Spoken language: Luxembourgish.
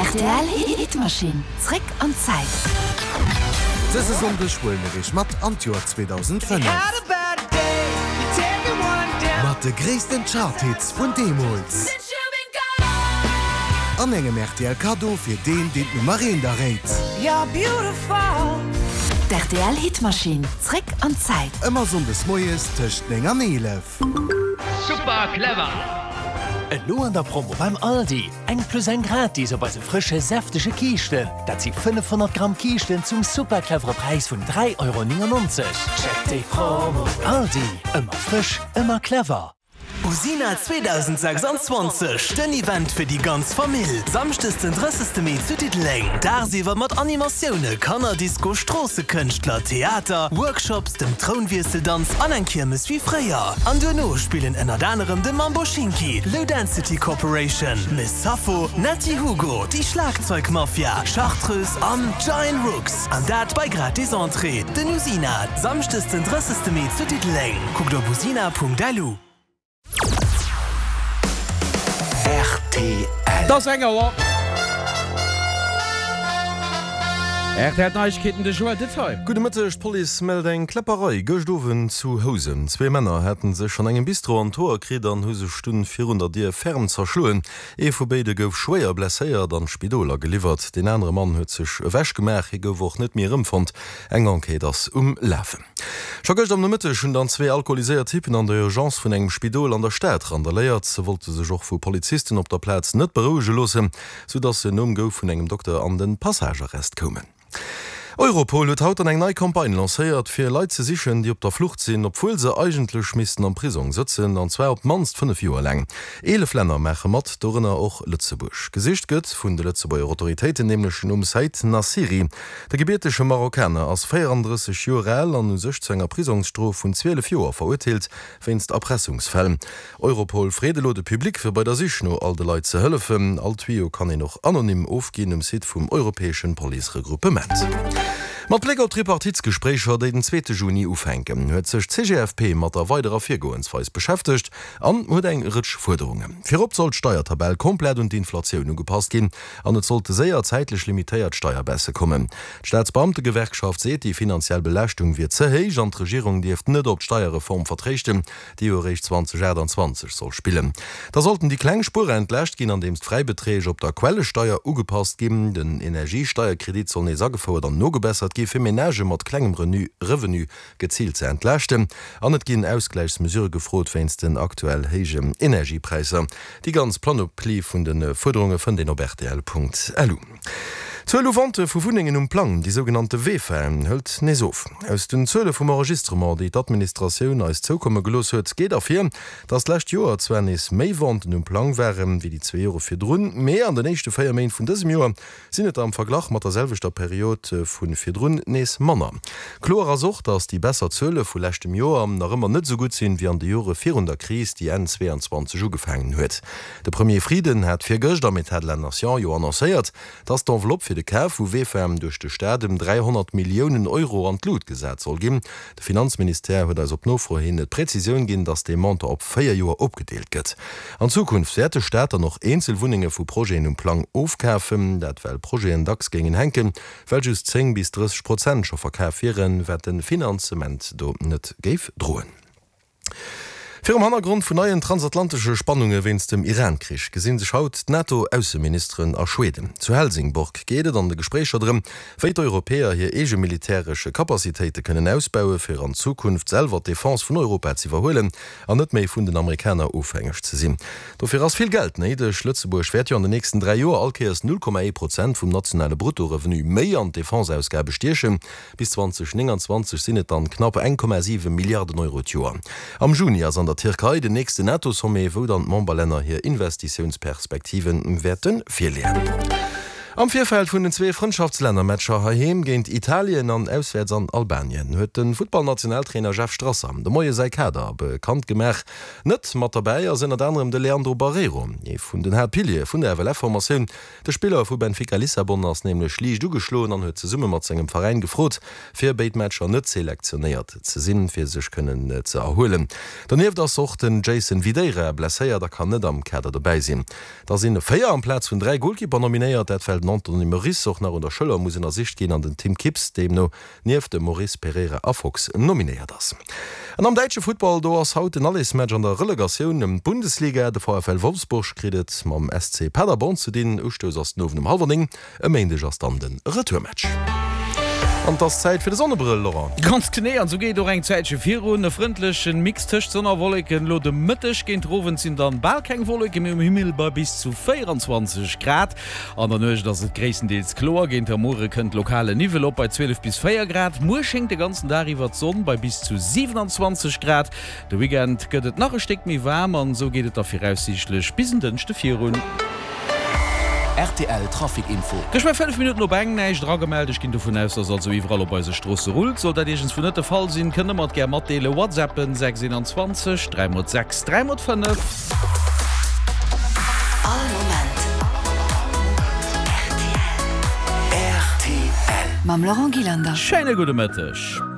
Rtl Hitmaschinn, zréck an d'Zäit. Dëse Sonndeg huele mir iech mat an d'Joer 2005. Mat de gréissten Chart-Hits vun deemools. An engem rtl Kaddo fir deen, deen d'Nummer eent erréit. D'RTL Hitmaschinn, zréck an d'Zäit. Ëmmer Sonndes moies tëscht 9 an 11. Super clever! Elo an der Promo beim Aldi, eng plus eng gratis op eise frësche säftege Kiischten. Dat si 500 Gramm Kiischten zum super clevere Präis vun 3,99 Euro. Check déi Promo! Aldi, ëmmer frësch, ëmmer clever! Usina 2026, den Event fir déi ganz Famill! Samschdes den 30 Mee zu Diddeleng. Dagsiwwer mat Animatioune, Kannerdisco, Stroossekënschtler, Theater, Workshops, dem Trounwiesseldanz an eng Kiermes wéi fréier. An duerno spillen ënnert anerem de Mambo Schinki, Low Density Corporation, Miss Sappho, Netty Hugo, déi Schlagzeugmafia, Chartreuse an Giant Rooks. An dat bei gratis Entrée. Den Usina, Samschdes den 30 Mee zu Diddeleng. Kuckt op usina.lu. Rtl. Et ass eng Auer. Rtl Neiegkeeten, de Joël Detail. Gudde Mëtteg, D'Police mellt eng Kläpperei gëscht Owend zu Housen. Zwee Männer haten sech an engem Bistro an d'Hoer kritt an hu sech dunn virun der Dier ferm zerschloen. Ee vu béide gouf schwéier blesséiert an d'Spidol ageliwwert. Deen anere Mann huet sech ewech gemaach, hie gouf och net méi erëmfonnt. Eng Enquête ass um Lafen. Scho gëscht am Nomëtteg hunn dann zwee alkoholiséiert Typen an der Urgence vun engem Spidol an der Stad randaléiert. Se wollte sech och vu Polizisten op der Plaz net berouege loossen, sou dass se nom Gouf vun engem Dokter an de Passagearrest koumen. Europol huet haut dann eng nei Campagne lancéiert, fir Leit ze sichen, déi op der Flucht sinn, obwuel se eigentlech missten am Prisong sëtzen, an zwar op d'mannst 5 Joer laang. 11 Länner maache mat, dorënner och Lëtzebuerg. Gesicht gëtt vun de Lëtzebuerger Autoritéiten nämlech nom Said Naciri. De gebiertege Marokkaner ass 34 Joer al an u sech zu enger Prisongsstrof vun 12 Joer verurteelt wéinst Erpressungsfäll. Europol freet elo de Public fir bei der Sich no all de Leit ze hëllefen. All Tuyau kann een och anonym ofginn um Site vum europäeschen Police-Regruppement. Mat Bléck op d'Tripartitsgespréicher, déi den zweete Juni ufänken, huet sech d'CGFP mat der weiderer Virgoensweis beschäftegt an huet eng Rëtsch Fuerderungen. Virop soll d'Steiertabell komplett un d'Inflatioun ugepasst ginn. An et sollte séier zäitlech limitéiert Steierbaisse kommen. D'Staatsbeamtegewerkschaft seet, déi finanziell Belaaschtung wier ze héich an d'Regierung dierft net op d'Steierreform vertréischten, déi jo eréischt 2028 soll spillen. Da sollten déi kleng Spuerer entlaascht ginn, andeems d'Fräibeträg op der Quellesteier ugepasst ginn. Den Energiesteierkredit soll nees agefouert an nogebessert gi fir Menagë mat klengem Revenu geziilt ze entlaaschten. An et ginn Ausgläichsmesurë gefrot wéinst den aktuell héijen Energiepräisser. Déi ganz Panoplie vun de Fuerderunge fënnt een op rtl.lu. D'Zuel u Vente vu Wunnengen um Plang, déi sougenannte VEFAen, hëlt nees of. Aus den Zuele vum Enregistrement, déi d'Administratioun eis zoukomme gelooss huet, geet ervir, datt d'lescht Joer zwar nees méi Venten um Plang waren, wéi déi zwee Jore virdrun, mee an den éischte 4 Méint vun dësem Joer sinn et der am Verglach mat der selwechter Period vu virdrun nees manner. Kloer ass och, datt déi besser Zuele vu leschtem Joer nach ëmmer net esou gutt sinn, wéi an de Jore virun der Kris, déi Enn 22 ugefaangen huet. De Premier Frieden hat virgëscht am Etat de la Nation jo annoncéiert, datt d'Enveloppe fir de Kaf vu VEFA duerch de Staat ëm 300 Milliounen Euro an d'Lut gesat soll ginn. De Finanzministère huet eis op Nofro hin d'Präzisioun ginn, datt dee Montant op 4 Joer opgedeelt gëtt. An Zukunft wäert de Staat dann och eenzel Wunnenge vu Projeten um Plang ofkafen. Dat well Projeten dacks géingen hänken, well just 10 bis 30 Prozent scho verkaf wieren, wat de Finanzement do net géif droen. Virum Hannergrond vun neien transatlantesche Spannunge wéinst dem Iran-Krich gesi sech haut d'NATO-Ausseministeren a Schweden. Zu Helsingborg geet et an de Gespréicher drëm, wéi d'Europäer hir eege militäresch Capacitéite kënnen ausbaue fir an Zukunft selwer d'Defense vun Europa z'iwwerhuelen an net méi vun den Amerikaner ofhängeg ze sinn. Dofir ass vill Geld néideg. Lëtzebuerg wäert jo an den nächsten 3 Joer all Kéiers 0,1 Prozent vum nationale Bruttorevenu méi an d'Defenseausgabe stiechen. Bis 2029 sinn et dann knapp 1,7 Milliarden Euro d'Joer. Am Juni ass an der Tierkei den nächsten NATO-Sommet, wou dann d'Memberlänner hir Investitiounsperspektive wäerte virleeën. Am Virfeld vun den zwee Frëndschaftslännermatcher heiheem géint Italien an auswäerts an Albanien huet de Futtballnationaltrainer Jeff Strasser de Moie säi Kader bekannt gemaach. Net mat derbäi ass ënnert anerem de Leandro Barreiro, ee vun den Haaptpiliere vun der FLF-Formatioun. De Spiller vu Benfica Lissabon ass nämlech liicht ugeschloen an huet zesumme mat sengem Veräin gefrot, fir béid Matcher net selektionéiert ze sinn, fir sech kënnen ze erhuelen. Donieft ass och den Jason Videira blesséiert a kann net am Kader dobäi sinn. Da sinn 4 amplaz vun 3 Golkipper nominéiert, dat well den Anthony Moris och nach un der Schëller muss ënnersicht ginn an den Tim Kips deemno nieft dem Moris, Pereira a Fox nominéiert ass. An am däitsche Futtball, do ass haut den Allersmatch an der Relegatioun ëm d'Bundesliga. De VfL Wolfsburg kritt et mam SC Paderborn ze dinn. Ustouss ass den Owend um hallwer 9. E Méindeg ass dann de Retourmatch. An et ass Zäit fir de Sonnebrëll, Laurent. Ganz genee, an esou geet et och eng Zäitche virun. E frëndlechen Mix tëscht Sonn a Wolleken. Elo de Mëtteg géint den Owend sinn dann bal keng Wolleke méi um Himmel bei bis zu 24 Grad. An der Nuecht ass et gréisstendeels kloer. Géint der Muere kënnt lokale Niwwel op bei 12 bis 4 Grad. Muer schéngt de ganzen Dag iwwer d'Sonn bei bis zu 27 Grad. De Weekend gëtt et nach e Stéck méi waarm an esou geet et da viraussiichtlech bis en Dënschde virun. Rtl Trafic Info. Gëscht war 5 Minutten op eng, näischt eragemellt. Ech ginn dovun aus, dass also iwwerall op eise Stroosse rullt. Sollt dat iergendswou net de Fall sinn, kënnt der mer et gär matdeelen. Whatsappen 6 21 3 mol 6 3 mol 5. All Moment rtl. Mam Laurent Gillander. Schéine gudde Mëtteg.